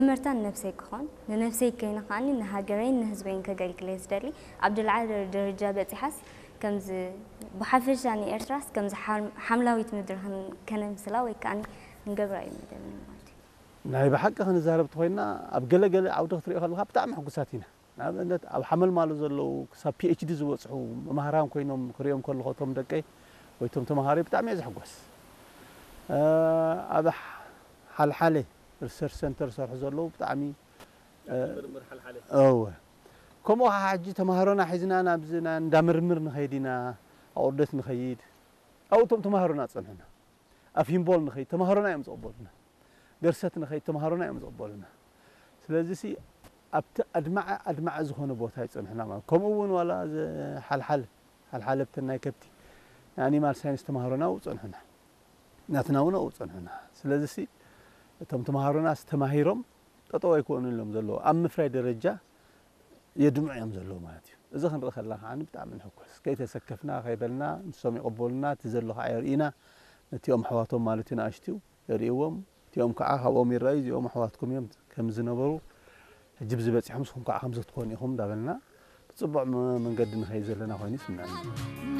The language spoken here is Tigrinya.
መጀመርታ ንነብሰይ ክኾን፣ ንነብሰይ ከይነ ከዓኒ ንሃገረይን ንህዝበይን ከገልግል እየ ዝደሊ። ኣብ ዝለዓለ ደረጃ በጺሓስ ከምዚ ብሓፈሻ ንኤርትራስ ከምዚ ሓም- ሓምላዊት ምድሪ ከን- ከነምስላ ወይ ከዓኒ ክንገብራ እዩ መደብና ማለት እዩ። ናይ ብሓቂ ክንዛረብ ተኾይና ኣብ ገለ ገለ ዓውዲ ክትሪኦ ከለኻ ብጣዕሚ ሕጉሳት ኢና። ንኣብነት ኣብ ሓመልማሎ ዘለዉ ክሳብ ፒ ኤች ዲ ዝበጽሑ መምሃራን ኮይኖም ክሪኦም ከለኹ እቶም ደቀይ ወይ እቶም ተምሃሮይ ብጣዕሚ እየ ዝሕጎስ። ኣብ ሓልሓለ ሪሰርች ሰንተር ዝሰርሑ ዘለዉ ብጣዕሚ ምርምር ሓልሓለ እወ ከምኡ ከዓ ሕጂ ተምሃሮና ሒዝና ናብዚ ና- እንዳ ምርምር ንኸይድ ኢና ኣቑርደት ንኸይድ ኣብኡ እቶም ተምሃሮና ፀንሑና ኣብ ሂምቦል ንኸይድ ተምሃሮና እዮም ዝቕበሉና ገርሰት ንኸይድ ተምሃሮና እዮም ዝቕበሉና ስለዚ ሲ ኣብቲ ኣድማዐ ኣድማዐ ዝኾነ ቦታ ይፀንሑና ማለት ከምኡ እውን ዋላ እዚ ሓልሓል ሓልሓለብተን ናይ ከብቲ ናይ ኣኒማል ሳይንስ ተምሃሮና ኣብኡ ፀንሑና ናትና እውን ኣብኡ ፀንሑና ስለዚ ሲ እቶም ተምሃሮና ዝተማሂሮም ጠጠው ኣይኮኑ ኢሎም ዘለዉ ኣብ ምፍራይ ደረጃ የድምዑ እዮም ዘለዉ ማለት እዩ እዚ ክንርኢ ከለና ከዓ ብጣዕሚ ንሕኮስ ከይተሰከፍና ከይበልና ንሶም ይቐበሉና እቲ ዘሎ ከዓ የርእዩና ነቲኦም ኣሕዋቶም ማለት እዩ ንኣሽትዩ የርእይዎም እቲኦም ከዓ ካብኦም ይረኣዩ እዚኦም ኣሕዋትኩም እዮም ከም ዝነበሩ ሕጂ ብዚ በፂሖም ንስኹም ከዓ ከምዚ ክትኮኑ ኢኹም እንዳበልና ብፅቡዕ መንገዲ ንኸይድ ዘለና ኮይኑ ይስምዐኒ